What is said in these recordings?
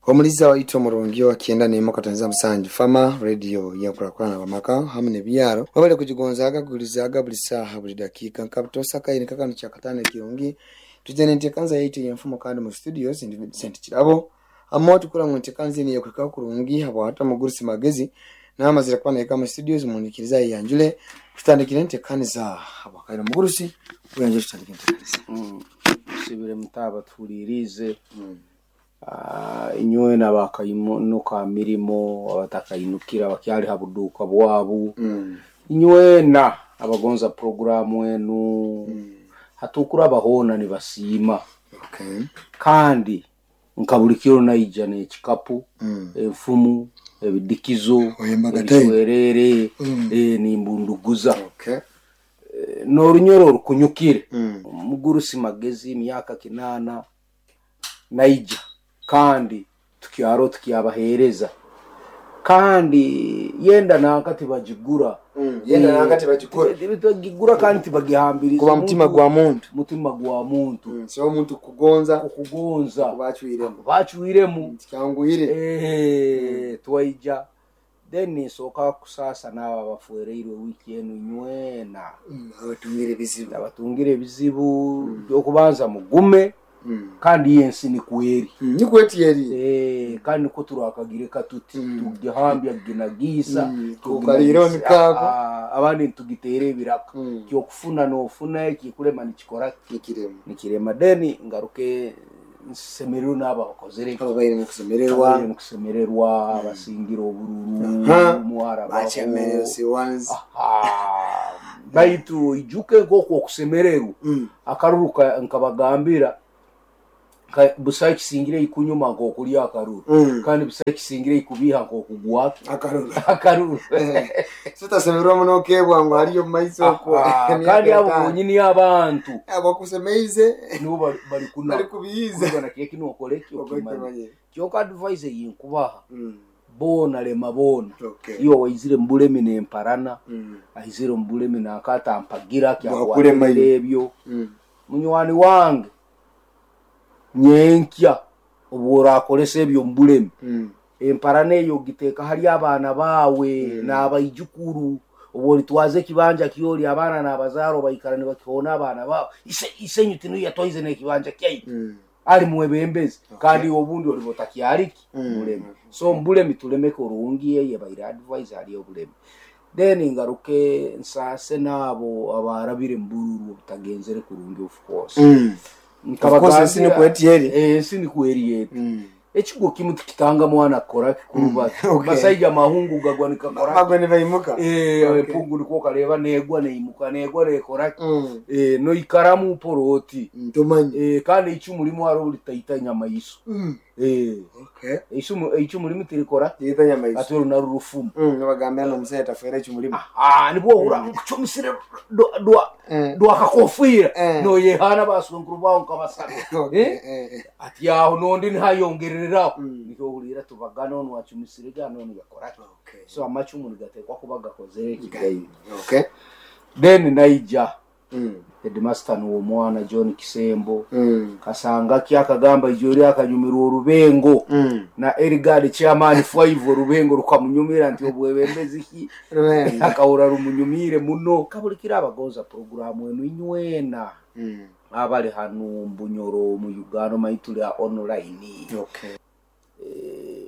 Omuliza waitu omurungi owa 97 Fama Radio yenkurakurana abamaka hamu nebyaro webale kugigonzaaga kugurizaaga buli saaha buli dakiika nka butoosa akaire nka kanu kyakataano ekirungi twija nenteekanza yaitu eyenfumo kandi mu studios ndi Vincent Kirabo amo tukura ngu enteekanza enu yekuhikaho kurungi habwahati omugurusi Magezi namazire kuba nahika mu studios munikirize ayeyanjule tutandikire enteekaniza habwakaire omugurusi weyanjule tutandike enteekaniza. Tusibire muta abatuhuriiriize inywena abakainuka ha mirimo, abatakainukire abakyali ha buduuka bwabu, inywena abagonza puroguramu enu, hatukuraba hoona nibasiima. Kandi nka buli kiro naija n'ekikapu, enfumu, ebidikizo, Oyembaga time. ebiswerere, nimbunduguza. N'orunyoro orukunyukire. Omugurusi Magezi emyaka 80 naija kandi tukyaro tukyabaheereza kandi yenda nanka tibagigura. Yenda nanka tibagigura. Tibagigura kandi tibagihambiriza. Kuba mutima gwa muntu. Mutima gwa muntu. So omuntu kugonza Okugonza. bacwiremu. Bacwiremu. Kyanguhire. Twaija then nsooka kusaasa n'abo abafereirwe wiiki enu inywena. Abatungire ebizibu. Abatungire ebizibu by'okubanza mugume kandi ensi nikwo eri. Nikwo eti eri. Kandi nikwo turakagireka tuti tugihambya ginagiisa. Tukaliireho nikaako. Abandi nitugiteera ebiraka. Kyokufuna noofuna ekikulema nikikora ki? Nikirema. Nikirema. Then ngaruke nsemererwe n'abo abakozere eki. Ababaire mukusemererwa. Ababaire mukusemererwa, abasingire obururu, mwarabaho. Bachairman ones. Baitu oijuke nk'oku okusemererwa akaruru nkabagambira busaho ekisingire ikunyuma nk'okulya akaruru. Kandi busaho ekisingire ikubiiha nk'okugwa Akaruru. Akaruru. So tasemererwa muno okebwa ngu hariyo omu maiso okwo. Kandi abo bonyini abantu abakusemeize nibo bari kuna bari kubiiza. Kuba na kiki nokora eki okimanya. Okimanye. Kyonka advice eyinkubaha boona lema boona. Okay. Iwe waizire mu bulemi n'emparana, aizire mu bulemi nakatampagira Bwakulema kyakwatirira iwe. ebyo. Munywani wange nyenkya obu orakoresa ebyo mu bulemi, emparana eyo ogiteeka hali abaana baawe n'abaijukuru. Obu oritwaza ekibanja kyori abaana n'abazaarwa baikara nibakihoona abaana baabo. Isenyu tiniwe yatwaize n'ekibanja kyaitu. Ali mwebembezi. Kandi obundi oliba otakyariki bulemi. So mbulemi tulemeke orungi eye baire advice hali obulemi. Then ngaruke nsaase n'abo abarabire mu bururu obutagenzere kurungi of course. Of course, ensi nikwo eti eri. Ensi nikwo eri eti. Ekigo kimu tikitanga mwana kukora kikuruba. Basaija mahungu gagwa nikakora. Magwe nibaimuka. Empungu nikwo okareba negwa neimuka negwa nekora. Noikaramu poroti. Ntumanye. Kandi eicumu rimwe hariho ritaita nyamaiso. Eicumu rimwe tirikora. Tiriita nyamaiso. Ati oru narwo rufumu. Nibagambira n'omushaija tafeera eicumu rimwe. Nibwo ohurira nkucumisire dwakakofiira. Noyehaana baswenkuru bawe nkabasatu. Ati aho n'ondi nihayongereraho. Nikyo ohurira tubagana onu acumisire ga n'onu yakora ki. So amacumu nigateekwa kuba gakozere ekigaine. Then naija. Headmaster niwe omwana John Kisembo. Kasanga ki akagamba ijo ri akanyumirwa orubengo. Na Erigard chairman 5 orubengo rukamunyumira nti obwebembezi ki. Rubengo. Akahura rumunyumire muno. Kabulikira abagonza puroguramu enu inywena. Abali hanu Mbunyoro mu Uganda omanyi tuli online.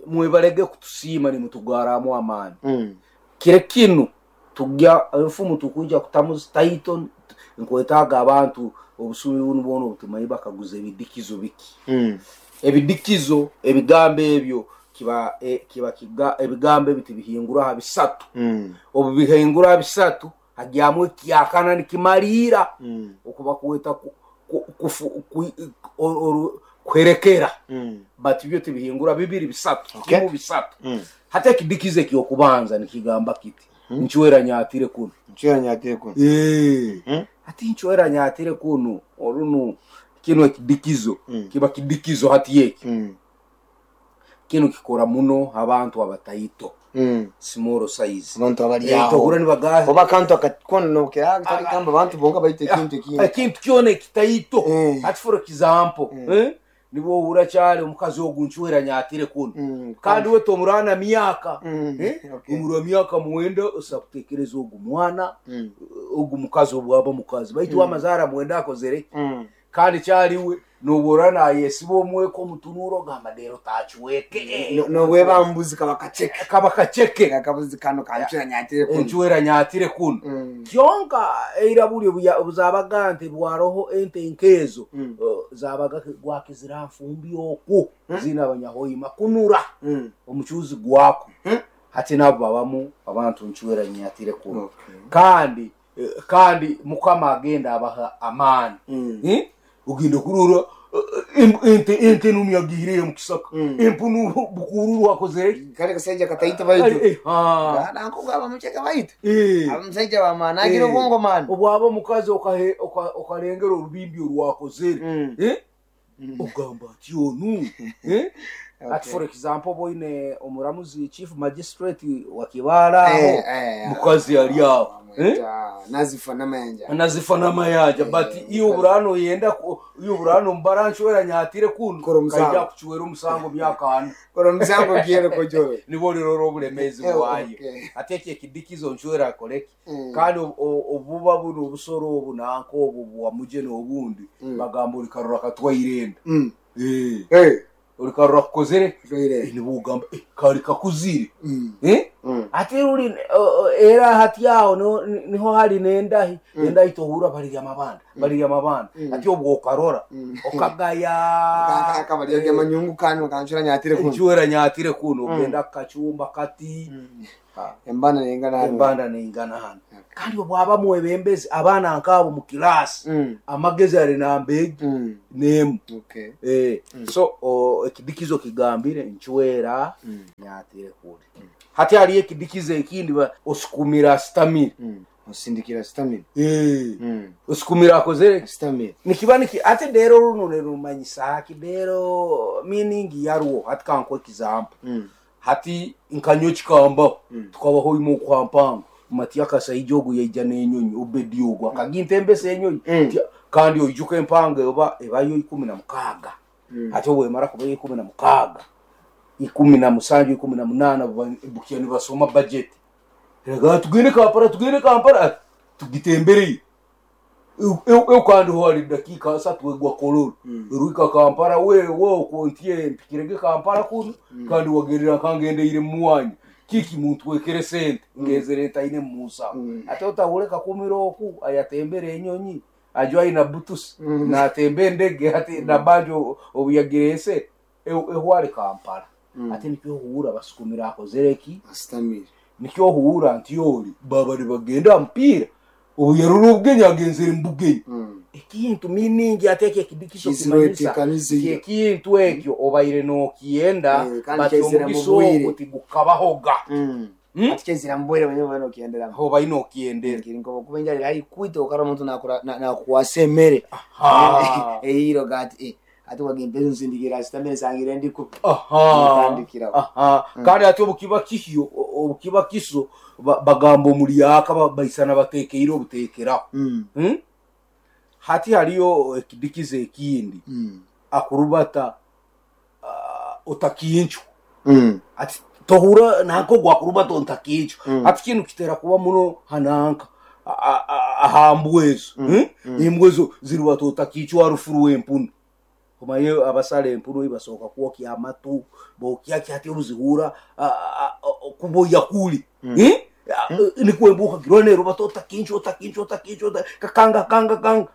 Mwebalege kutusiima nimutugaramu amaani. Kire kinu tujya enfumu tukuja kutamu title nkwetaaga abantu obusumi bunu bwona obutumanyi bakaguza ebidikizo biki. Ebidikizo ebigambo ebyo kiba kiba kiga ebigambo ebi tibihingura aha bisatu. Obu bihingura aha bisatu hagyamu ekyakana nikimariira. Okuba kweta kuherekera. But byo tibihingura bibiri bisatu. Kimu bisatu. Hata ekidikizo ekyokubanza nikigamba kiti. Nchwera nyatire kuno. Nchwera nyatire kuno. Ati nchwera nyatire kuno. Orunu kino ekidikizo. Kiba kidikizo hati eki. Kino kikora muno abantu abataito. Small size. Abantu abali aho. Tohura nibagaha. Oba kantu akakona nokera kitari kamba abantu bonka baite ekintu ekindi. Ekintu kyona ekitaito. Ati for example, Nibwo ohurra kyari omukazi ogu ncwera nyatire kunu. Kandi we tomurana myaka. Okay. Omurwa myaka mwenda osobola kutekereza ogu mwana, ogu mukazi obwaba mukazi. Baitu amazara mwenda akozere ki? Kandi kyari we nobora nayesiba omweko omutunuro ogamba rero tacweke. Nobweba mbuzi kaba kaceke. Kaba kaceke. Akabuzi kano kancwera nyatire kunu. Encwera nyatire kunu. Kyonka eira buri obuzabaga nti bwaroho ente nkezo, zabaga gwakizira nfumbi oku zina abanyahoima kunura omucuzi gwako. Hati nabo babamu abantu ncwera nyatire kunu. Okay. Kandi Mukama agenda abaha amaani. Ogenda kurora ente numi agiireyo mu kisaka. Empunu bukururu akozere. Kale kasaija kataito baitu. Nankugaba mucheke baitu. Abamusajja bamaani agira obwongo maani. Obwaba omukazi okarengera orubimbi orwakozere. Ogamba ati onu. Ati for example boine omuramuzi chief magistrate wa Kibaale aho. Mukazi ali aho. Nazifa n'amayanja. Nazifa n'amayanja. But iyo burano yenda iyo burano mbaranchwera nyatire kunu. Kora omusango. Kaija kuchwera omusango myaka ana. Kora omusango gyere kojoro. Nibo rero obulemezi bwayo. Okay. Ate eki ekidikizo nchwera akoreki. Kandi obuba buno obusoro obu nanko obu bwa muje n'obundi. Bagamba olikarora katwairenda. Olikarora kukozere. Katwairenda. Nibo ugamba, kari kakuzire. Ate uri era hati aho niho hari nendahi. Nendahi tohura bari amabanda. Bari amabanda. Ati obwo okarora. Okagaya. Akabari ya manyungu kanu kanchura nyatire kuno. Nchura nyatire kuno. Ogenda kachumba kati. Embanda neingana hano. Embanda neingana hano. Kandi obwaba mwebembezi abana nkabo mu class. Amagezi ari nambegi. Nemu. Okay. So ekidikizo kigambire nchwera nyatire kule. Hati hariyo ekidikizo ekindi osukumira stamina. Osindikira stamina. Osukumira akozere stamina. Nikiba niki ate rero runo nerumanyisa haki rero meaning yarwo hati kankwe example. Hati nkanyo kikambaho. Tukabaho imo kwa mpango. Mati akasaija ogu yaija n'enyonyi obedi ogu akaginta embese enyonyi. Kandi oijuka empango ebayo 16. Ate obwemara kuba 16, 17, 18 bukiya nibasoma budget. Rega tugende Kampala, tugende Kampala, tugitembereye. Eu kandi ho hari dakika asatu egwa kololo. Ruika Kampala we okontie mpikirege Kampala kuno. Kandi wagerera kangendeire muwanyu. Kiki muntu wekere sente ngezere taine musa. Ate otahureka kumira oku ayatembere enyonyi. Ajo aina butus. Na atembe ndege ate na banjo obuyagirese ehware Kampala. Ate nikyo huura basukumira akozereki. Astamira. Nikyo huura nti yori baba bagenda mpira. Obuyaruru obugenya agenzere mbugenyi. Ekintu miningi ateke ekidikiso Kizirwete kimanyisa. kamizi. Ekintu ekyo obaire nokienda, Kandi but kyezira omugiso mubwire. ogwo tigukabahoga. Ati kyezira mubwire wenyewe obaire nokiendera. Aho obaire nokiendera. Kiri nko kuba enjara eri kwita okara omuntu nakukwasa emere. Eyiro gati, ati wagenda nsindikira sitamere sangire ndi ku. Mutandikira. Kandi ati obukiba kihyo, obukiba kiso, bagamba omulyaka, baisana batekeire obutekeraho. Hati hariyo ekidikizo ekindi. Akurubata, otakinchwa. Ati tohura nanko gwakurubata ontakinchwa. Ati kinu kitera kuba muno hananka. Ahambwezo. Imbwezo zirubata otakinchwa arufuru w'empunu. Omaye abasale empunu ibasoka kwokya amatu, bokya kyati oruzihura, kuboya kuli. Nikwembuka kirone rubato otakinchwa, otakinchwa, otakinchwa, kakanga, kanga, kanga.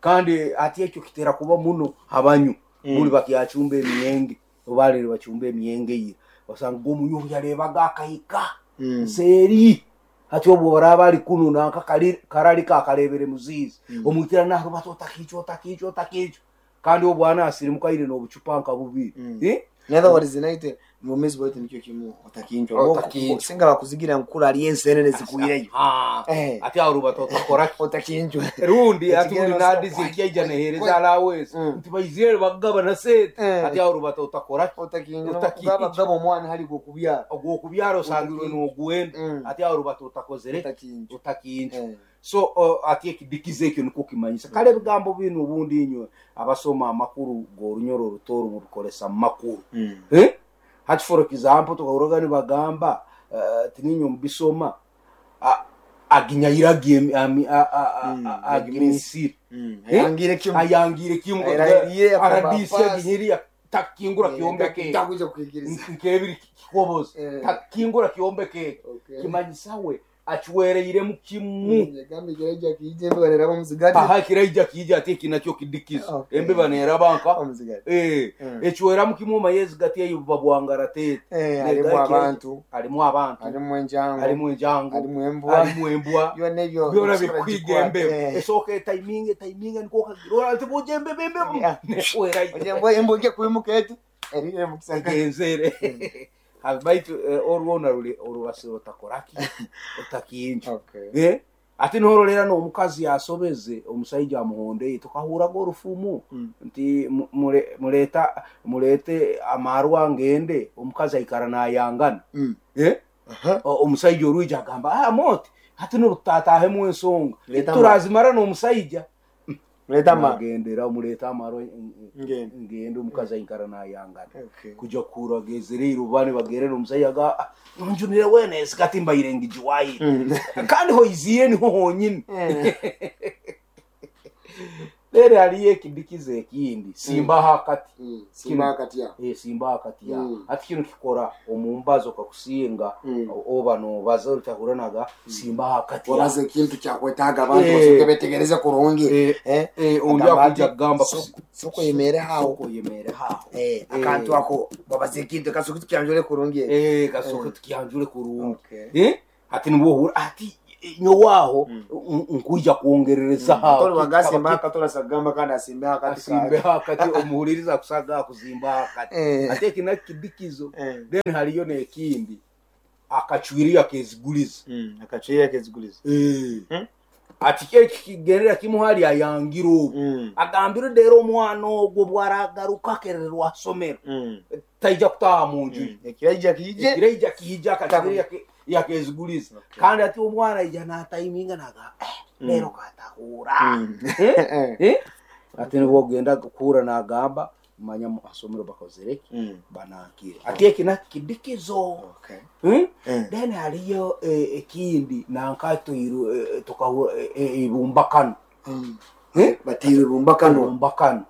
Kandi ati ekyo kitera kuba muno abanyu. Buli bakyachumba emiyenge, obalere bachumba emiyenge ira. Osanga omunyu yarebaga akahika. Nseeri. Ati obwo baraba ari kuno nanka karali kakarebere muzizi. Omwitira naho rubato otakinchwa, otakinchwa, otakinchwa. Kandi obwana asirimuka ire n'obucupa nka bubiri. In other words, naite mumezi bwete nikyo kimu otakinchwa. Otakinchwa. Singa bakuzigira nkura ali ensenene zikuireyo. Ati aho rubato otakora ki? Otakinchwa. Rundi ati Ekigero uri nadize kwa- ekyaija nehereza alawezi. Nti baizire bagaba sente. Ati aho rubato otakora ki? Otakinchwa. Otakinchwa. Gaba gaba omwana hali gokubyara. Ogwokubyara osangirwe n'ogwenda. Ati aho rubato otakozere. Otakinchwa. Otakinchwa. So ati ekidikizo ekyo nikwo kimanyisa. Kale ebigambo binu obundi inywe abasoma amakuru g'orunyoro orutooro mubikoresa mu makuru. Eh? Hati for example tukahurraga nibagamba tiniinywe mubisoma aginyayire agimisire. Ayangiire kimu. Ayangiire kimu. Ayarahiriire akaba RDC pass. aginyiriye takingura kyombeko eki. Takwija kukwikiriza. Nkebiri kikobozi. Takingura kyombeko eki. Kimanyisa we achiwereiremu kimu. Yagamba ekiraija kiija embeba neraba omuzigati. Aha ekiraija kiija ati eki nakyo kidikizo. Embeba neraba nka Omuzigati. Ekiweramu kimu omaye ezigati eyo buba bwangara teete. Harimu abantu. Harimu abantu. Harimu enjango. Harimu enjango. Harimu embwa. Harimu embwa. Byona ebyo. Byona ebisoro bikwiga gikwata. embeba. Esooka etaiminga etaiminga nikwo okagira ora ati bujja embeba embeba. Nehwerayo. Ojja embwa embwa ejja kwimuka eti. Erire mukisaka. Egenzere. Baitu orwona ruri orubasiro otakoraki otakinja. Ati nororera n'omukazi yasobeze omusaija amuhondeye tukahuraga orufumu nti mureta murete amarwa ngende omukazi aikara nayangana. Omusaija orwija agamba moti hati norutatahemu ensonga turazimara n'omusaija. Mureta amarwa. Nagendera mureta amarwa ngende omukazi aikara nayangana. Kuja kuhura agezere iruba nibagerera omusaija aga nonjunire wena ensi kati mbaire ngijiwaire. Kandi hoiziire niho honyini. Rero hariyo ekidikizo ekindi simba hakati. Simba hakati ya. Simba hakati ya. Ati kinu kikora omumbazo kakusinga oba nobaza otahuranaga simba hakati ya. Wabaza ekintu kyakwetaaga abantu basoke betegereze kurungi. Ondi akuja kugamba Soko yemere haho. Soko yemere haho. Akantu ako wabaza ekintu kasoke tukianjure kurungi. Kasoke tukianjure kurungi. Ati nibwo ati nyowaho nkuja kuongerereza haho. Toli wagasi mpaka tola sagamba kandi asimbe hakati. Asimbe hakati omuhuliriza kusaga kuzimba hakati. Ate kina kidikizo. Then haliyo nekindi akachwiria keziguliza. Akachwiria keziguliza. Ati kye kigenera kimu hali ayangira obu. Agambire dero omwana ogwo bwaragaruka akererwa asomero. Taija kutaha mu nju. Ekiraija kiije. Ekiraija kiije akachwiria yakeziguliza. Kandi ati omwana aija nataiminga naga lero katahura. Ati nibwo ogenda kukura nagamba manya asomero bakozereki banankire. Ati eki nakidikizo. Then haliyo ekindi nankatoiru tukahura ibumbakano. Batire ibumbakano. Ibumbakano.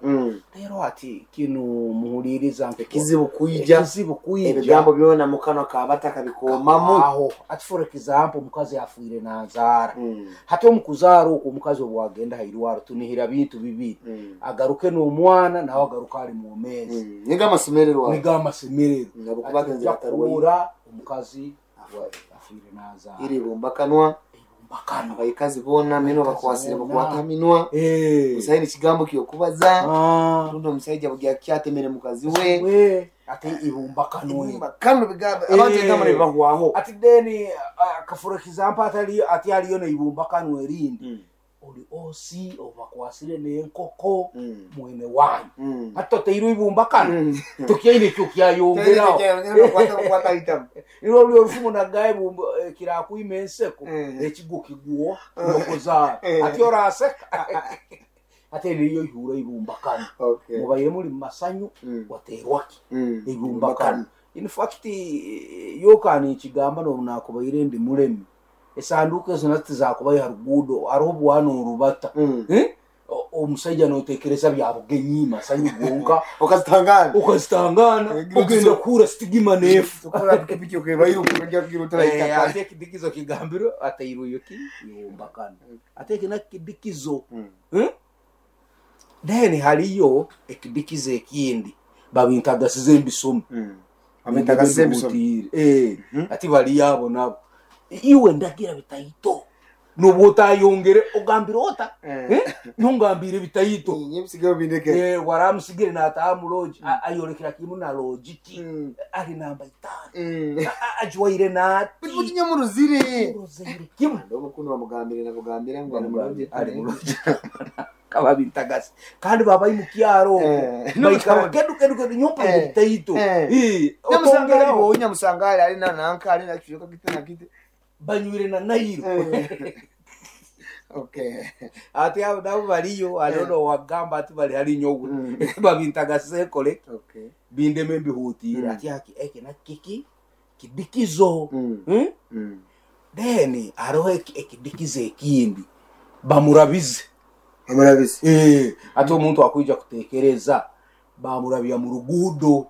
Rero ati kinu muhuliriza ekizibu kuija. Ekizibu kuija. Ebigambo byona mukano kabata kabikomamu. Aho ati for example omukazi afuire nazaara. Hati omukuzaara okwo omukazi obwagenda hairwaro tunihira bintu bibiri. Agaruke n'omwana nawe agaruka ari mwomezi. Niga amasemererwa. Niga amasemererwa. Nabo kubagenzi batarwaye. Omukazi afuire nazaara. Iri bumbakanwa. Abayikazi bona mino bakwasire bakwata minwa. Usaini kigambo kyokubaza. Rundo omusajja bugya kyatemere mukazi we. Ate ibumbakanwe. Ibumbakanwe bigambo abantu ebigambo nibahwaho. Ati then for example atali ati aliyo ne ibumbakanwe erindi. Oli osi obakwasire n'enkoko mwene wanyu. Ati toteirwe ibumbakano. Tukyaine kyo kyayongeraho. Nirwo ruri orufumu nagaye kirakwima enseko ekigo kiguo nokuzaara. Ati oraseka. Ate niyo ihura ibumbakano. Mubaire muri mu masanyu waterwaki ibumbakano. In fact yokani ekigamba nobunakubaire ndi muremi. Esanduku ezo nazo tizakubayo ha ruguudo hariho obwana orubata. Omusajja notekereza bya bugenyi masanyu gonka. Okazitangana. Okazitangana. Ogenda kuhura sitigima nefu. Tukura pikipiki okebayo okujja kugira otaraitaka. Ate ekidikizo kigambiro ateirweyo ki ibumbakano. Ate eki nakidikizo. Then haliyo ekidikizo ekindi babintagasize embisoma. Babintagasize embisoma. Ati baliyo abo nabo. Iwe ndagira bitaito. Nobwo otayongere ogambire ota. Ntungambire bitaito. Nyebisigeo bindeke. Waramusigire nataha mu lodge. Ayorekera kimu na lodge ki. Ari namba 5. Ajwaire nati. Butinye mu ruzire. Ruzire kimu. Ndobo kuno bamugambire nabugambire ngo ari mu lodge. Ari mu lodge. Kababintagasi. Kandi babayi mu kyaro. Baikara kedu kedu kedu nyompa bitaito. Nyamusangari bo nyamusangari ari na nanka ari na kiyoka gite na gite. Banywire na nairo. Okay. Ati abo nabo bariyo hariho nowagamba ati bari hari nyowe babintagasekore Okay. bindeme mbihutire ati aki eki na kiki kidikizo. Then hariho ekidikizo ekindi bamurabize. Bamurabize. Ati omuntu akwija kutekereza bamurabya mu ruguudo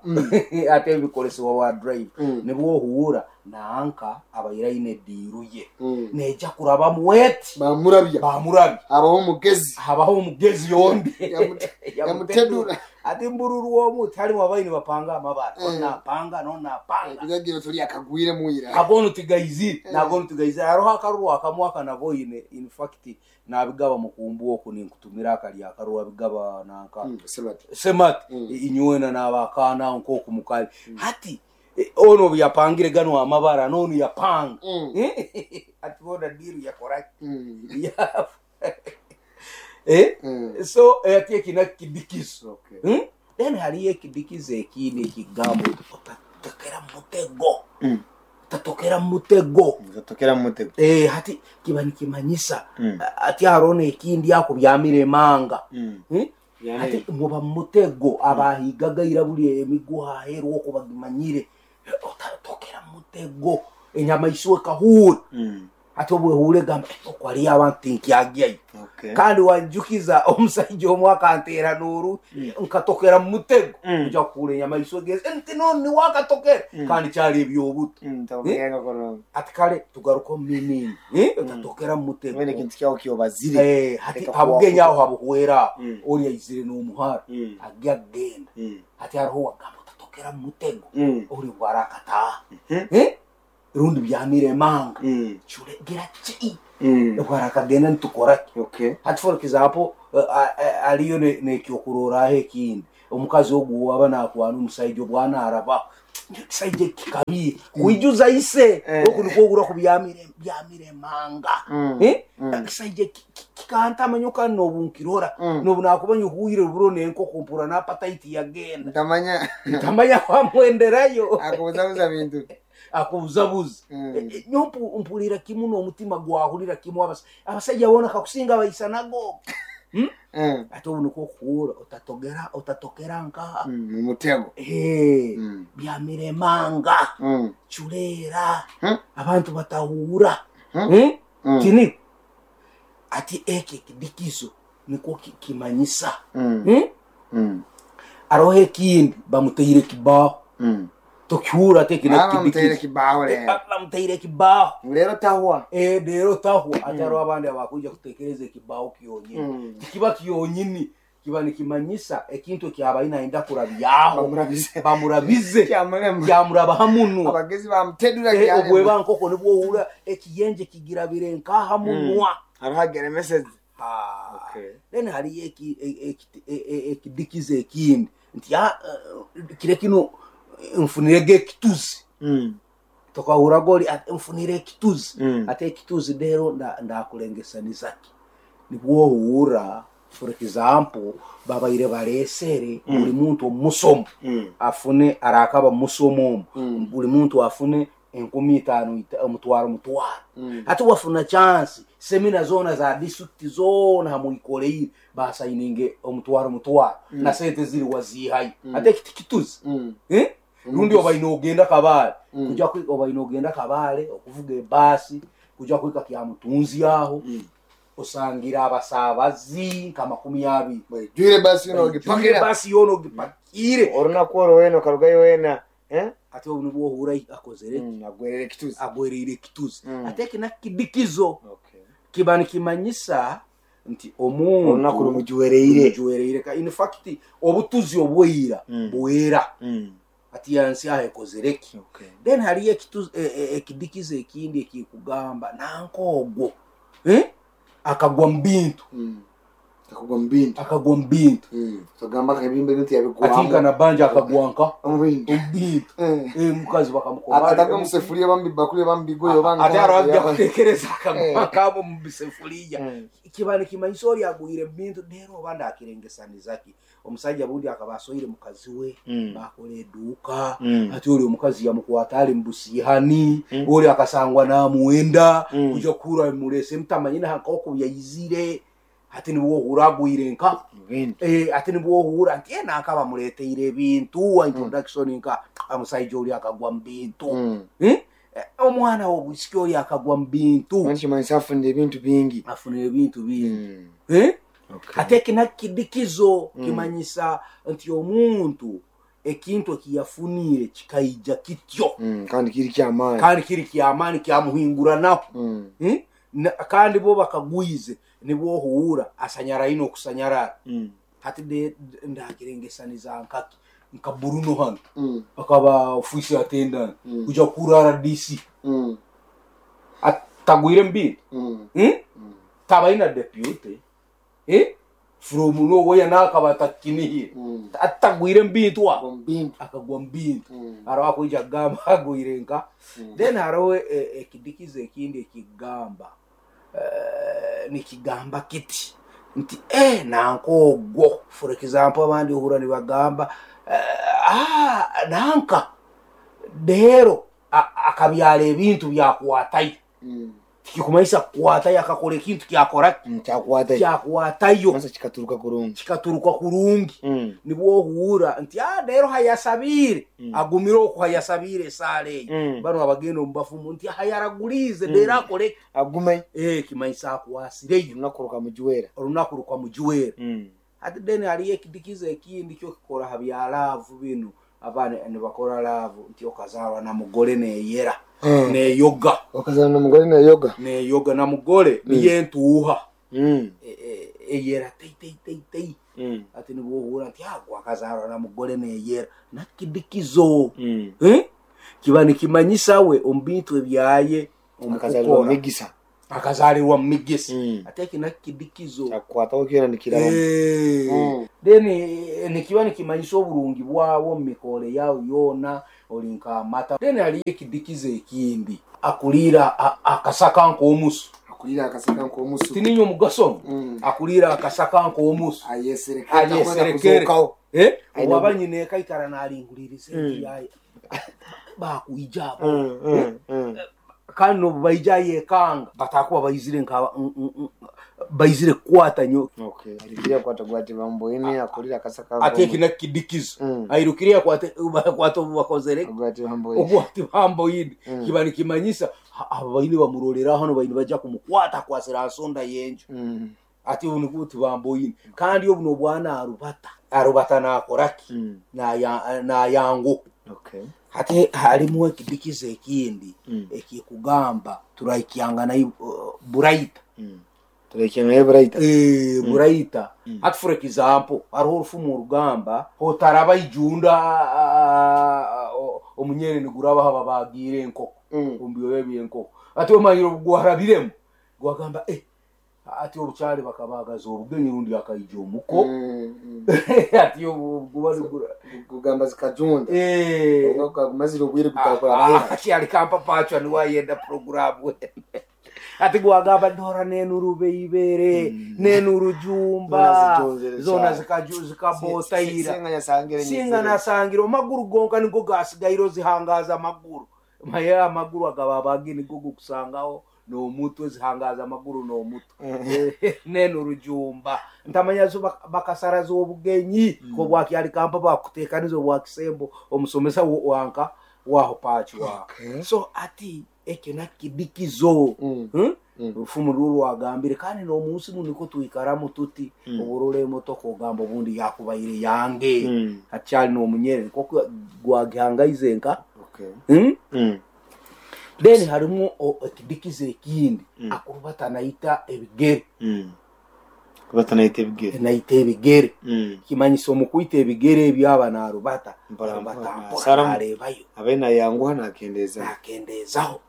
ate ebikolesebwa wa drive nibwo ohuura nanka abaire aine ediiru ye neija kurabamu eti Bamurabya. Bamurabya. Habaho omugezi. Habaho omugezi yombi. Yamutedura. Ati mbururu omu tiharimu abaini bapanga amabara onapanga nonapanga. Bigagira tuli akagwire mwira. Agono tigaizire nagono tigaizire hariho akaruru akamwe akanaboine, in fact nabigaba mukumbu oku ninkutumira akali akaruru abigaba nanka. Semati. Semati inywena nabakana nkoku mukali hati ono yapangire gano amabara nono yapanga ati bona diru yakoraki. So ati eki kidikizo. Okay. Then hariyo ekidikizo ekindi ekigambo otatokera mutego. Utatokera mutego. Utatokera mutego. Hati kiba nikimanyisa ati hariho nekindi ako byamiremanga. Ati muba mutego abahigaga buri emiguha aheru oko bagimanyire otatokera mutego enyamaiswa ekahuura. Ati obwehure gamba okwo hariyo abantu tinkyagyayo. Okay. Kandi wanjukiza omusaija omwe akanteera nooru nkatokera mu mutego kuja kuhura enyamaiswa egeze nti none niwe akatokera kandi kyari ebyobuto. Tabugenda kono. Ati kale tugaruka omu minini otatokera mu mutego. Mwene kintu kyawo kyobazire. Hati Reka habugenya kuwakuta. aho habuhwera ori aizire n'omuhara agya agenda. Hati hariho wagamba otatokera mu mutego ori bwarakataha rundi byamiremanga cure gira ki bwarakagenda nitukoraki. Okay. Hati for example aliyo nekyokuroraho ekindi omukazi ogu waba nakwana omusaija obwana arabaho ekisaija kikabi kwijuza ise oku nikwo ogura ku byamiremanga. Ekisaija kikantama kandi nobu nkirora nobu nakuba nyuhuire ruburo nenkoko mpura napataiti yagenda. Ntamanya. Ntamanya kwamwenderayo. Akubuzabuza bintu. Akubuzabuza. Nyo mpurira kimu n'omutima gwahurira kimu abasajja bona kakusinga baisanago. Ate obu nikwo okuhura otatogera otatokera nkaha. Mu mutego. Byamiremanga cureera abantu batahura. Kini ati eki ekidikizo nikwo kimanyisa. Aroho ekindi bamuteire ekibaho tokihura ate eki Bamuteire nekidikizo. Kibaho rero. Bamuteire ekibaho. Rero tahwa. Rero tahwa ati hariho abandi abakwija kutekereza ekibaho kyonyini tikiba kyonyini kiba nikimanyisa ekintu ekyabaine nayenda kurabyaho. Bamurabize. Bamurabize. Kyamurema. Kyamurabaha munwa. Abagezi bamutedura kyarema. Obweba nkoko nibwo ohura ekiyenje kigirabire nkaha munwa. Hariho ageremeseze. Ah. Okay. Then hariyo ekidikizo ekindi nti kire kino nfunirege ekituzi tokahura gori ati nfunire ekituzi. Ate ekituzi rero ndakulengesanizaki nibwo ohura for example babaire baresere buli muntu omusomo afune arakaba musomo omu buli muntu afune 5,000 omutwaro mutwaro. Ati wafuna chance semina zona za district zona hamuikoleire basayininge omutwaro mutwaro na sente ziri wazihayo ate ekiti kituzi. Rundi obaine ogenda Kabale kuja obaine ogenda Kabale okuvuga ebaasi kuja kwika kya mutunzi aho osangira abasabazi nka 20. Jwire basi yono ogipakira. Basi yono ogipakire. Orunaku orwo wena okarugayo wena. Ate obu nibwo ohura akozere Agwerere ekituzi. Agwereire ekituzi. Ate eki nakidikizo Okay. kiba nikimanyisa nti omuntu Orunaku rumujuwereire. rumujuwereire. In fact obutuzi obweira bwera ati yansi aho ekozereki. Okay. Then hariyo ekidikizo ekindi ekikugamba nanka ogwo akagwa mu bintu. Akagwa mu bintu. Akagwa mu bintu. Tugamba akabimba ebintu yabigwamu. Ati nka nabanja akagwa nka Omu bintu. Omu bintu. Omukazi bakamukoma. Atagwa mu sefuria bamubibakuli bamubigoye oba Ate hariho ajya kutekereza akagwa nkabo mu bisefuriya. Kiba nikimanyisa ori agwire mu bintu rero oba ndakirengesaniza ki. Omusajja bundi akaba asoire mukazi we, bakora eduuka, ati ori omukazi yamukwata ari mu busiihani, ori akasangwa namuwenda, kuja kuhura bimurese mutamanyine nk'oku yaizire, ati nibwo ohura agwire nka ati nibwo ohura nti nanka bamureteire ebintu, introduction nka omusajja ori akagwa mu bintu. Omwana w'obwisiki ori akagwa mu bintu. Kimanyisa afunire ebintu bingi. Afunire ebintu bingi. Ate eki nakidikizo kimanyisa nti omuntu ekintu ekiyafunire kikaija kityo. Kandi kiri kyamaani. Kandi kiri kyamaani kyamuhinguranaho. Kandi bo bakagwize nibwo ohuura asanyara ino okusanyarara. Hati ndakirengesaniza nkaki nka Bruno hano. Akaba ofisi attendant kuja kuhura RDC. Atagwire mu bintu. Tabaina deputy. From nowhere nakaba atakinihire. Atagwire mu bintu aho. Akagwa mu bintu. Hariho akwija kugamba agwire nka. Then hariho ekidikizo ekindi ekigamba. Nikigamba kiti nti nanka ogwo. For example abandi ohura nibagamba nanka rero akabyara ebintu byakwatayo. Tikikumanyisa kukwatayo akakora ekintu kyakora Kyakwatayo. Kyakwatayo. Kwanza kikaturuka kurungi. Kikaturuka kurungi. Nibwo ohura nti rero hayasabire. Agumire oku hayasabire esaara eyo. Bano abagenda omu bafumu nti hayaragulize rero akore. Agume. Kimanyisa akwasireyo. Olunaku rukamujuwera. Olunaku rukamujuwera. Ati then hariyo ekidikizo ekindi kyo kikora ha bya laavu binu. Abaana nibakora laavu nti okazarwa na mugore neyera. Neyoga. Okazarwa na mugore neyoga. Neyoga na mugore niye ntuuha. Eyera tei tei tei tei. Ati nibwo ohura nti agwa akazarwa na mugore neyera. Nakidikizo. Kiba nikimanyisa we omu bintu ebyaye omu Akazalirwa kukora. migisa. Akazalirwa mu migisa. Ate eki nakidikizo. Kyakukwataho kyona nikiraba. Then nikiba nikimanyisa oburungi bwawe omu mikore yawe yoona ori nk'amata. Then hariyo ekidikizo ekindi akurira akasaka nk'omusu. Akurira akasaka nk'omusu. Tininye omugaso. Akurira akasaka nk'omusu. Ayeserekere. Ayeserekere. Owaba nyine ekaikara naringuririza enju yaye. Bakwija abo. Kandi nobu baija yekanga batakuba baizire nka baizire kukwata nyo. Airukire akwata gwati bamboine akurira akasaka. Ate eki nakidikizo. Airukire akwate bakwata obu bakozere. Gwati bamboine. Ogwati bamboine. Kiba nikimanyisa abo baine bamurorera hano baine baja kumukwata akwasira nsonda y'enju. Ati obu nibwo tibamboine. Kandi obu nobwana arubata. Arubata nakoraki? Nayangu. Hati harimu ekidikizo ekindi ekikugamba turaikyanga nayo buraita. Turaikyanga nayo buraita. Buraita. Hati for example hariho orufumu orugamba otaraba ijunda omunyere niguraba haba bagiire enkoko. Omu byoya by'enkoko. Ati omanyire obugwarabiremu gwagamba ati obukyali bakabagaza obugenyi rundi akaija omuko. Ati obu kugamba zikajunda. Ogumazire obwire gutakora mahera. Kyali kampa pachwa niwayenda programu. Ati gwagamba ndora nenurube ibere nenurujumba zona zikabotaira. Singa nasangire amaguru gonka nigo gasigaire zihangaza amaguru. Maye amaguru agababagi nigo gukusangaho n'omutwe zihangaza amaguru n'omutwe. Nenurujumba ntamanya zo bakasaraza obugenyi ko bwakyali kampa bakutekaniza obwakisembo omusomesa wanka waho pachi wa. So ati ekyo nakidikizo. Orufumu ruru rwagambire kandi n'omunsi muno niko twikaramu tuti oburora emotoka ogamba obundi yakubaire yange. Hakyali n'omunyere niko gwagihangaize nka. Then harimu ekidikizo ekindi akurubata naita ebigere. Kurubata naita ebigere. Naita ebigere. Kimanyisa omu kwita ebigere ebyaba narubata. Mpora Arubata mpora. mpora narebayo. Abe nayanguha nakendezaho. Nakendezaho.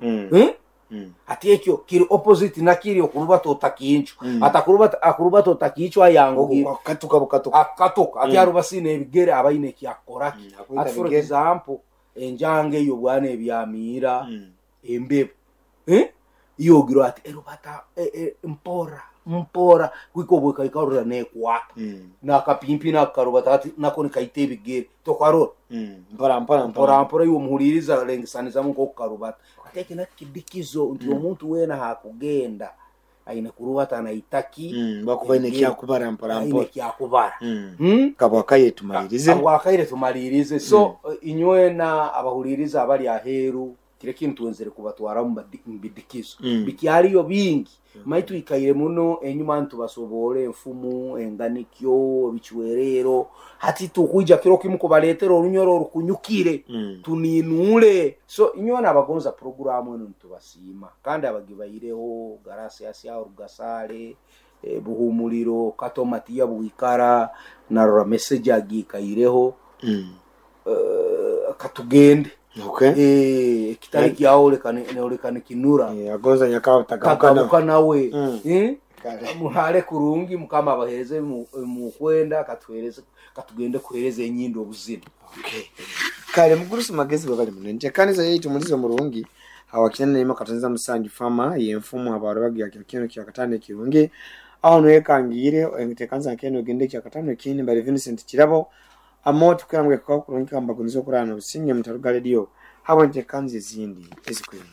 Ati ekyo kiri opposite nakiri okurubata otakincu. Atakurubata akurubata otakincu ayanguhire. Katuka bukatuka. Akatuka ati arubasine ebigere abaine ekyakukoraki. Ati for example enjanga eyo bwana ebyamiira embebo iyogirwa ati erubata mpora mpora kwika obwekaikarura nekwata nakapimpi nakarubata ati nako nikaita ebigere tokarora mpora mpora mpora mpora iwe omuhuliriza lengesanizamu nkokukarubata. Ati eki nakidikizo nti omuntu weena hakugenda aine kurubata naitaki bakuba aine kyakubara mpora aine mpora kyakubara. Kabwakaire tumalirize. Abwakaire tumalirize. So inywena abahuliriza abali aheeru kire kintu nzire kubatwara mu bidikizo bikyaliyo bingi. Maitu ikaire muno enyuma ntubasobora enfumu enganikyo ebicwerero hati tukwija kiro kimu kubaletera orunyoro orukunyukire tuninule. So inywena abagonza programu eno nitubasiima kandi abagibaireho Garasiasi Rugasale Buhumuliro Kato Matiya Bwikara narora message agikaireho katugende. Okay. Ekitali kyaoleka nikinura agonza nyakaba tagabuka nawe. Muhale kurungi mukama abahereze mukwenda katuhereze katugende kuhereza enyindo obuzina. Okay. Kale mugurusi magezi babali munenje kanisa yaitu mulizo murungi awakina nima katanza musanju fama yenfumu abarabagi ya kino kya katano kirungi aho nwekangire entekanza keno gende kya katano kini bali Vincent Kirabo amoto kambwe kwa kurungi kamba kunzo kurana usinye mutaruga radio habo ntekanze zindi ezikwenda.